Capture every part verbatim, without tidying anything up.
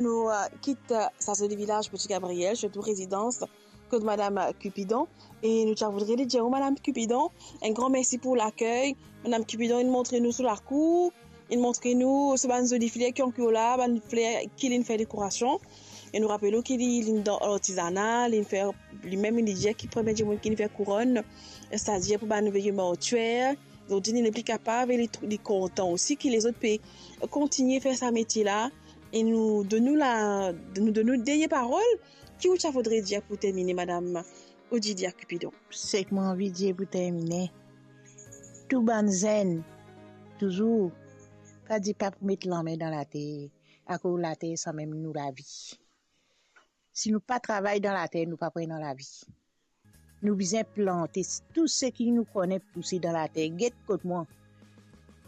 Nou, euh, kit, euh, sa zoli vilaz Petit Gabriel, sirtou rezidans kot Madam Cupidon. E nou ti a voudre li dir, oh, Madam Cupidon, enn gran mersi pou lakey. Madam Cupidon, inn montre nou so lakour, inn montre nou so bann zoli fler ki ankor la, bann fler ki linn fer dekorasion. E nou rapel ou ki li, linn dan lartizana, linn fer, limem linn dir ki premie dimoun ki linn fer kouronn, setadir pou bann veye mortyer. Zordi li nepli kapav e li, li kontan osi ki lezot pe kontigne fer sa metie la. E nou donn ou la, nou donn ou dernie parol. Ki ou ti a voudre dir pou termine, Madam Odilia Cupidon? Seki mo anvi dir pou termine, tou bann zenn, touzour, pa dir pa pou met lame dan later, akoz later samem nou lavi. Si nou pa travay dan later, nou pa pou ena lavi. Nou bizin plante tou seki nou kone pouse dan later. Get kot mwa.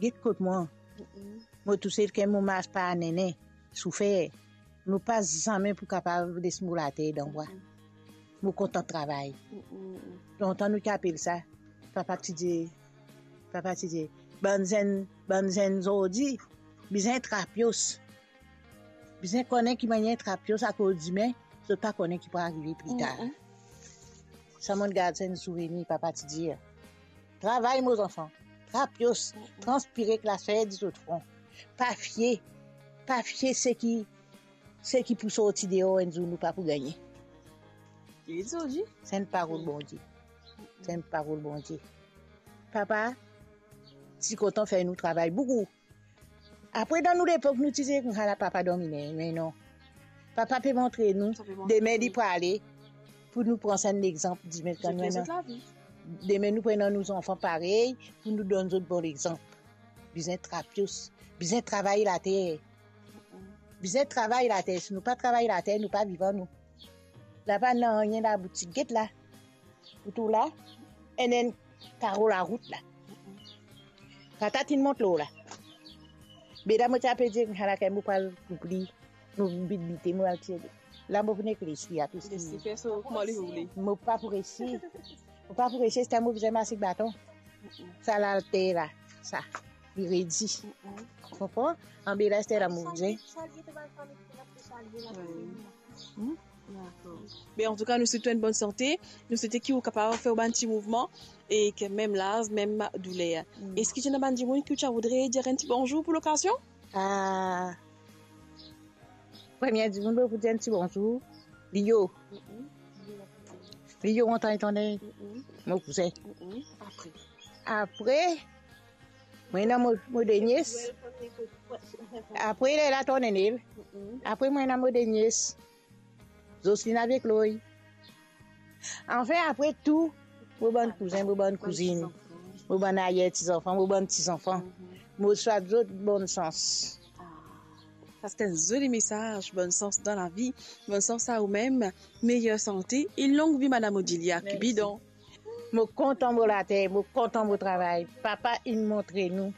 Get kot mwa. Mm-mm. Mo tousel, kan mo mars par nene, soufer. Mo pa zame pou kapav les mo later dan bwa. Mm-mm. Mo kontan travay. Mm-mm. Lontan nou ti apel sa, papa ti dir, papa ti dir, bann zenn, bann zenn zordi bizin trapios. Bizin kone ki manier trapios, akoz dime, zot pa kone ki pou arive pli tar. Mm-mm. Sa mo'nn gard sa enn souvenir, papa ti dir, travay, mo zanfan, trapios, mm-mm, transpire ek laswar dizot fron. Pa fie, pa fie seki, seki pou sorti deor, enn zour nou pa pou gagne. Li zordi. Se enn parol Bondie. Se enn parol Bondie. Papa ti kontan fer nou travay boukou. Apre, dan nou lepok, nou ti dir koumsa la, papa domine, me non. Papa pe montre nou, sa pe montre dime li pou ale, pou nou pran sa enn lexanp, dime, dime nou pran nou zanfan parey, pou nou donn zot bon lexanp. Bizin trapios, bizin travay later. Mm-mm. Bizin travay later, si nou pa travay later, nou pa vivan nou. La pa nanye laboutik, get la. Ou trouv la, enn enn karo larout la. Patat inn mont lor la. Be la mo ti ape dir, ala kan mo pral koup li, mo vinn bit bite, mo al tire li. La mo pou nek les li apis. Les li fer so kouma li voule. Mo pa pou resi. Mo pa pou resi, se mo bizin mars ek baton. Sa later la, sa, li redi. Konpran? Anbe la, se la mo bizin. Wi. Hmm? Dakor. Me antouka, nou swete enn bonn sante. Nou swete ki ou kapav fer bann ti mouvman e ki mem laz, mem douler. Mm. Eski ti ena bann dimoun ki ou ti a voudre dir enn ti bonzour pou lokazion? Ah, premie dimoun mo pou dir enn ti bonzour, Lio. Mm-mm. Lio, antan etonne. Mm-mm. Mo kouzin. Mm-mm. Apre? Apre, mo ena mo, mo de nies. Apre, li la tonn ene. Mm-mm. Apre, mo ena mo de nies. Jocelyne avek Loy. Anfin, apre tou, mo bann kouzin, mo bann kouzinn, mo bann arier ti zanfan, mo bann ti zanfan. Mhm. Mo swet zot bonn sans. Ah, sa se enn zoli mesaz, bonn sans dan lavi, bonn sans a oumem, meyer sante e long vi, Madam Odilia Cupidon. Mo kontan mo later, mo kontan mo travay. Papa inn montre nou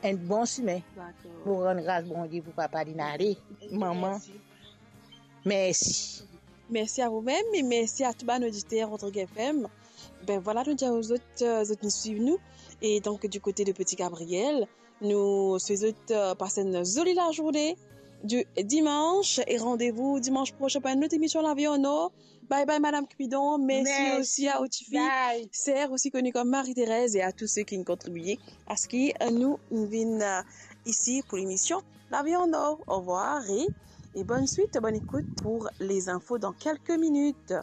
enn bon simin. Dakor. Mo rann gras Bondie pou papa, linn ale, manman. Mersi. Mersi. Mersi a oumem e mersi a tou bann oditer Rodrig F M. Be vwala, nou dir a zot, euh, zot inn swiv nou. E donk, di kote de Petit Gabriel, nou swet zot, euh, pas enn zoli lazourne di dimans e randevou dimans prosin pou enn lot emision Lavi an Or. Bye bye, Madam Cupidon. Mersi osi a ou tifi, ser osi koni kom Marie-Thérèse, e a tou seki inn kontribie a se ki, euh, nou vinn, euh, isi pou lemision Lavi an Or. Orvwar e, e bonn swit, bonn ekout pou lezinfo dan kelke minit.